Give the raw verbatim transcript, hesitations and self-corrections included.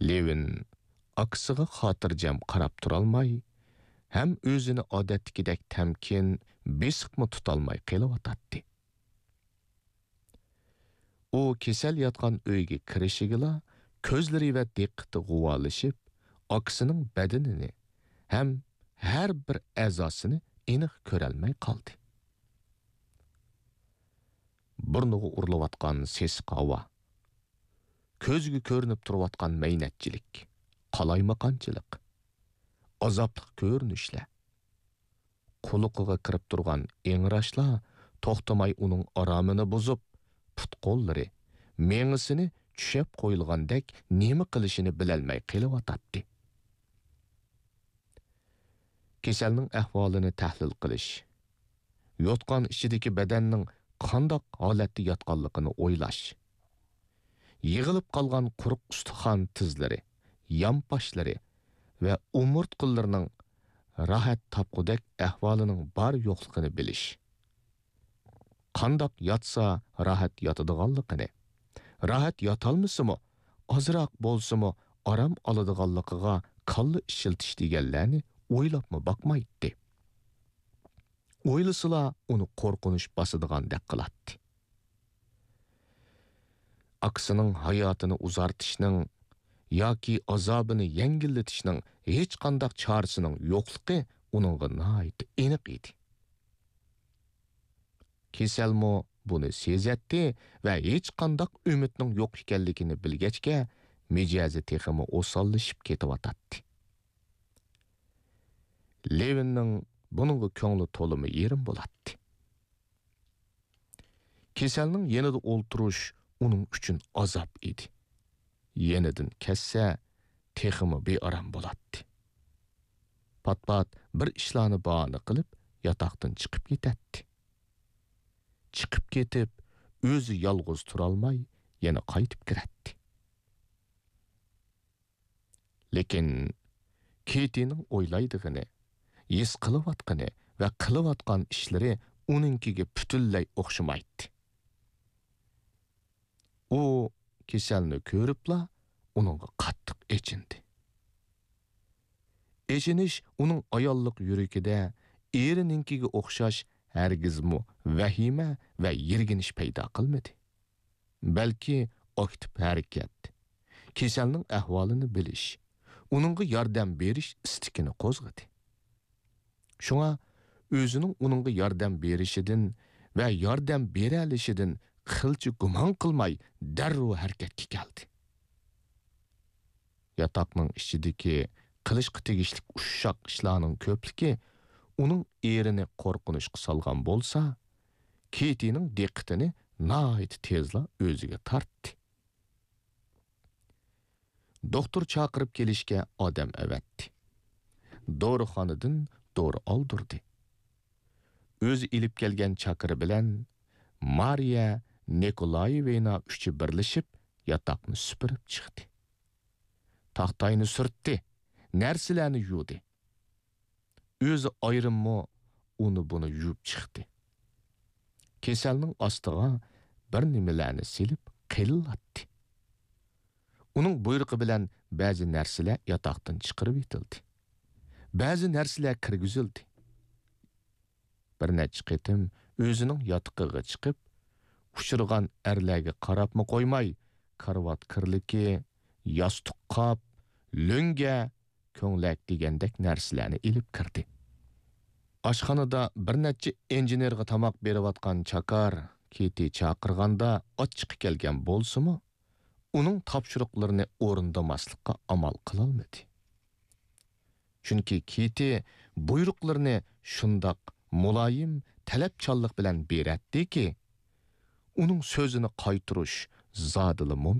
لېۋىن ئاكىسىغا خاتىرجەم قاراپ تۇرالماي، ھەم ئۆزىنى ئادەتتىكىدەك تەمكىن، بېسىقمۇ تۇتالماي قېلىۋاتاتتى. ئۇ كېسەل ياتقان ئۆيگە كىرىشىگىلا، كۆزلىرى ۋە دىققىتى غۇۋالىشىپ، ئاكىسىنىڭ بەدىنىنى ھەم ھەر بىر ئەزاسىنى ئېنىق كۆرەلمەي قالدى. بۇرنىغا ئۇرۇلۇۋاتقان سېسىق ھاۋا، كۆزگە كۆرۈنۈپ تۇرۇۋاتقان مەينەتچىلىك، قالايمىقانچىلىق، ئازابلىق كۆرۈنۈشلەر، قۇلىقىغا كىرىپ تۇرغان ئىڭراشلار توختىماي ئۇنىڭ ئارامىنى بۇزۇپ، پۇت-قوللىرى، مېڭىسىنى چۈشەپ قويۇلغاندەك نېمە قىلىشىنى بىلەلمەي قېلىۋاتاتتى. كېسەلنىڭ ئەھۋالىنى تەھلىل قىلىش، يوتقان ئىچىدىكى بەدەننىڭ قانداق ھالەتتە ياتقانلىقىنى ئويلاش، يىغىلىپ قالغان قۇرۇق ئۇستىخان تىزلىرى، يانپاشلىرى ۋە ئومۇرتقىلىرىنىڭ راھەت تاپقۇدەك ئەھۋالىنىڭ بار-يوقلۇقىنى بىلىش، قانداق ياتسا راھەت ياتىدىغانلىقىنى، راھەت ياتالمىسىمۇ، ئازراق بولسىمۇ ئارام ئالىدىغانلىقىغا كاللا ئىشلىتىش دېگەنلەرنى ئويلاپمۇ باقمايتتى. ئويلىسىلا ئۇنى قورقۇنچ باسىدىغاندەك قىلاتتى. ئاكىسىنىڭ ھاياتىنى ئۇزارتىشنىڭ ياكى ئازابىنى يەڭگىللىتىشنىڭ ھېچقانداق چارىسىنىڭ يوقلۇقى ئۇنىڭغا ناھايىتى ئېنىق ئىدى. كېسەلمۇ بۇنى سېزەتتى ۋە ھېچقانداق ئۈمىدنىڭ يوق ئىكەنلىكىنى بىلگەچكە، مىجەزى تېخىمۇ ئوساللىشىپ كېتىۋاتاتتى. لېۋىننىڭ بۇنىڭغا كۆڭلى تولىمۇ يېرىم بولاتتى. كېسەلنىڭ يېنىدا ئولتۇرۇش ئۇنىڭ ئۈچۈن ئازاب ئىدى. يېنىدىن كەتسە، تېخىمۇ بىئارام بولاتتى. پات-پات بىر ئىشلارنى باھانە قىلىپ، ياتاقتىن چىقىپ كېتەتتى. چىقىپ كېتىپ، ئۆزى يالغۇز تۇرالماي، يەنە قايتىپ كىرەتتى. لېكىن كېتىنىڭ ئويلايدىغىنى، ھېس قىلىۋاتقىنى ۋە قىلىۋاتقان ئىشلىرى ئۇنىڭكىگە پۈتۈنلەي ئوخشىمايتتى. ئۇ كېسەلنى كۆرۈپلا ئۇنىڭغا قاتتىق ئېچىندى. ئېچىنىش ئۇنىڭ ئاياللىق يۈرىكىدە ئېرىنىڭكىگە ئوخشاش ھەرگىزمۇ ۋەھىمە ۋە يىرگىنىش پەيدا قىلمىدى. بەلكى ئاكتىپ ھەرىكەت، كېسەلنىڭ ئەھۋالىنى بىلىش، ئۇنىڭغا ياردەم بېرىش ئىستىكىنى قوزغىدى. شۇڭا ئۆزىنىڭ ئۇنىڭغا ياردەم بېرىشىدىن ۋە ياردەم بېرەلىشىدىن قىلچە گۇمان قىلماي، دەررۇ ھەرىكەتكە كەلدى. ياتاقنىڭ ئىچىدىكى قىلىشقا تېگىشلىك ئۇششاق ئىشلارنىڭ كۆپلۈكى ئۇنىڭ ئېرىنى قورقۇنچقا سالغان بولسا، كېتىنىڭ دىققىتىنى ناھايىتى تېزلا ئۆزىگە تارتتى. دوختۇر چاقىرىپ كېلىشكە ئادەم ئەۋەتتى. دورىخانىدىن دورا ئالدۇردى. ئۆزى ئېلىپ كەلگەن چاكىرى بىلەن مارىيە نىكولايېۋنا ئۈچى بىرلىشىپ ياتاقنى سۈپۈرۈپ چىقتى. تاختاينى سۈرتتى، نەرسىلەرنى يۇدى. ئۆزى ئايرىممۇ ئۇنى-بۇنى يۇيۇپ چىقتى. كېسەلنىڭ ئاستىغا بىر نېمىلەرنى سېلىپ قېلىلاتتى. ئۇنىڭ بۇيرۇقى بىلەن بەزى نەرسىلەر ياتاقتىن چىقىرىۋېتىلدى. بەزى نەرسىلەر كىرگۈزۈلدى. بىر نەچچە قېتىم ئۆزىنىڭ ياتىقىغا چىقىپ، ئۇچرىغان ئەرلەرگە قاراپمۇ قويماي، كارىۋات كىرلىكى، ياستۇق قاپ، لۆڭگە، كۆڭلەك دېگەندەك نەرسىلەرنى ئېلىپ كىردى. ئاشخانىدا بىر نەچچە ئىنژېنېرغا تاماق بېرىۋاتقان چاكار كېتى چاقىرغاندا ئاچچىقى كەلگەن بولسىمۇ، ئۇنىڭ تاپشۇرۇقلىرىنى ئورۇندىماسلىققا ئامال قىلالمىدى. چۈنكى كېتى بۇيرۇقلىرىنى شۇنداق مۇلايىم، تەلەپچانلىق بىلەن بېرەتتىكى، ئۇنىڭ سۆزىنى قايتۇرۇش زادىلا مۇمكىن